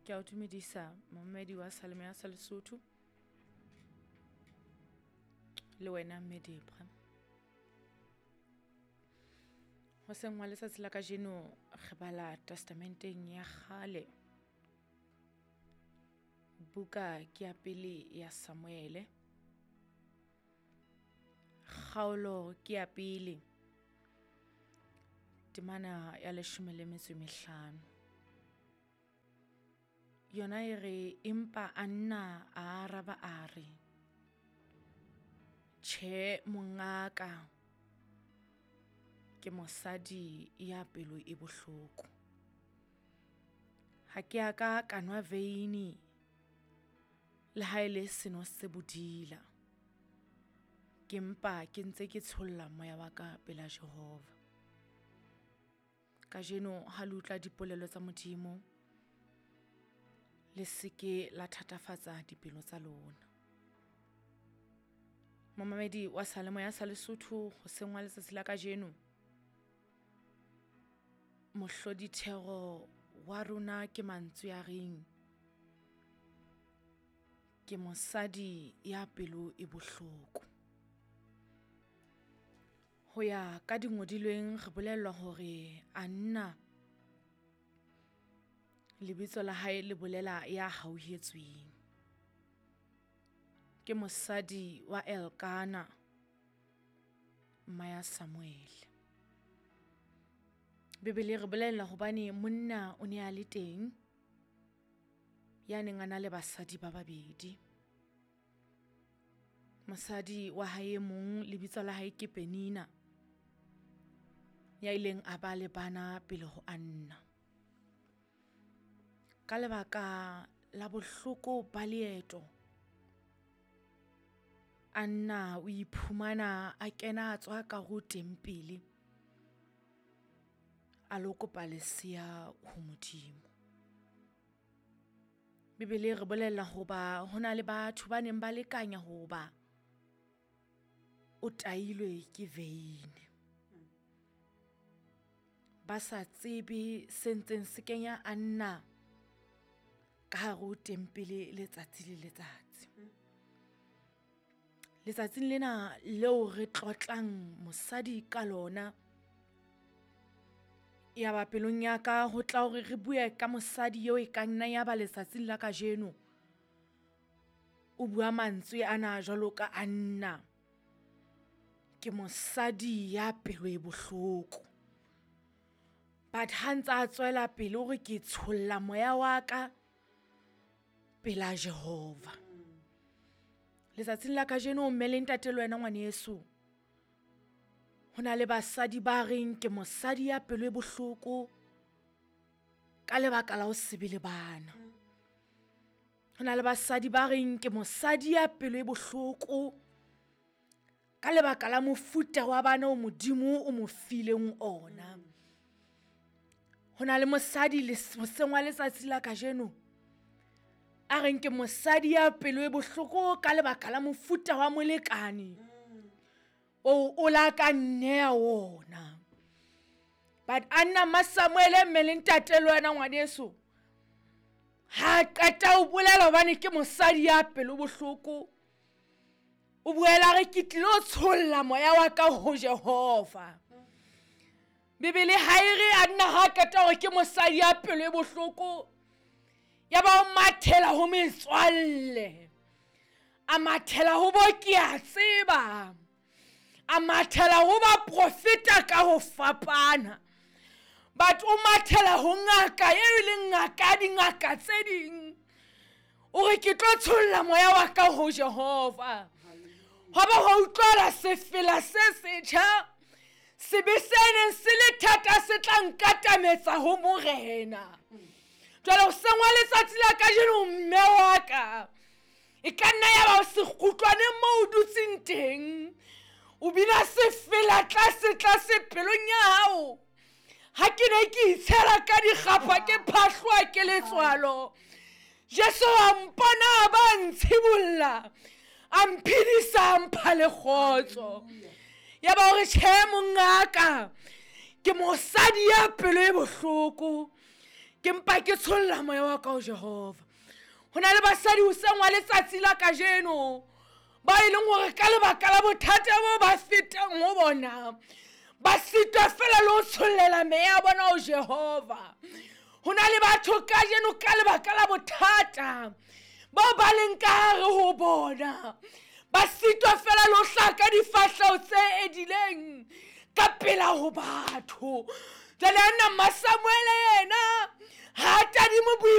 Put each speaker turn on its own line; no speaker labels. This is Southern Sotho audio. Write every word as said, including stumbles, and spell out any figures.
Ke a o dumedisa momamedi wa Seyalemoya sa Lesotho le wena mme Debra. Hoseng wa letsatsi la kajeno re bala testamenteng ya kgale. Buka ke ya pele ya Samuele. Kgaolo ke ya pele. Temana ya leshome le metso e mehlano. Yona e re empa Anna a araba a re, tjhe mongaka, ke mosadi ya pelo e bohloko. Ha ke a ka ka nwa veini le ha e le seno se bodila. Ke mpa ke ntse ke tsholla moya wa ka pela Jehova. Kajeno ha le utlwa dipolelo tsa Modimo, le se ke la thatafatsa dipelo tsa lona. Momamedi wa Seyalemoya sa Lesotho hoseng wa letsatsi la kajeno, mohlodithero wa rona ke mantswe a reng, ke mosadi ya pelo e bohloko. Ho ya ka dingodilweng re bolellwa hore Anna lebitso la hae le bolela ya hauhetsweng. Ke mosadi wa Elkana, mma ya Samuel. Bibele re bolella hobane monna o ne a le teng ya neng a na le basadi ba babedi. Mosadi wa hae mong lebitso la hae ke Penina, ya ileng a ba le bana pele ho Anna. Ka lebaka la bohloko ba leeto, Anna o iphumana a kena a tswa ka ho tempele, a lo kopa lesea ho Modimo. Bibele re bolella hoba ho na le batho ba neng ba lekanya hoba o tailwe ke veine. Ba sa tsebe se ntseng se kenya Anna ka hare ho tempele letsatsi le letsatsi. Letsatsing lena leo re tlotlang mosadi ka lona, ya ba pelong ya ka ho tla hore re bue ka mosadi eo e ka nna ya ba letsatsing la kajeno o bua mantswe ana jwalo ka Anna. Ke mosadi ya pelo e bohloko. But ha ntse a tswela pele hore ke tsholla moya wa ka pela Jehova. Letsatsing la kajeno mme le ntate le wena ngwaneso, ho na le basadi ba reng ke mosadi ya pelo e bohloko ka lebaka la ho se be le bana. Ho na le basadi ba reng ke mosadi ya pelo e bohloko ka lebaka la mofuta wa bana o Modimo o mo fileng ona. Ho na le mosadi hoseng wa letsatsi la kajeno a reng ke mosadi ya pelo e bohloko ka lebaka la mofuta wa molekane o o la ka nneha wona. But Anna ma Samuele mme le ntate le wena ngwaneso, ha qeta o bolela hobane ke mosadi ya pelo bohloko, o buela re ke tlilo tsholla moya wa ka ho Jehova. Bibele ha e re Anna ha qeta hore ke mosadi ya pelo e bohloko, ya ba o mathela ho metswalle, a mathela ho bo ke a tseba, a mathela ho ba profeta ka ho fapana. But o mathela ho ngaka e leng ngaka dingaka tse ding, o re ke tlo tsholla moya wa ka ho Jehova. Ho ba ho utlwala sefela se setjha, sebe se neng se le thata se tla nkatametsa ho Morena. Jwale hoseng wa letsatsi la kajeno mme wa ka, e ka nna ya ba o sekgutlwane moo o dutseng teng, o bina sefela tlase tlase pelong ya hao. Ha ke ne ke itshela ka dikgapha ke phahlwa ke letswalo, Jesu a mpona a ba ntshibolla, a mphedisa a mpha le kgotso. Ya ba hore tjhe mongaka, ke mosadi ya pelo e bohloko, Ke mpa ke tsholla moya wa ka ho Jehova. Ho na le basadi hoseng wa letsatsi la kajeno ba e leng hore ka lebaka la bothata bo ba fetang ho bona, ba sitwa fela le ho tshollela meya ya bona ho Jehova. Ho na le batho kajeno ka lebaka la bothata bao ba leng ka hare ho bona, ba sitwa fela le ho hlaha ka difahleho tse edileng ka pela ho batho. Jwale Anna Mmasamuele yena ha tadime boima.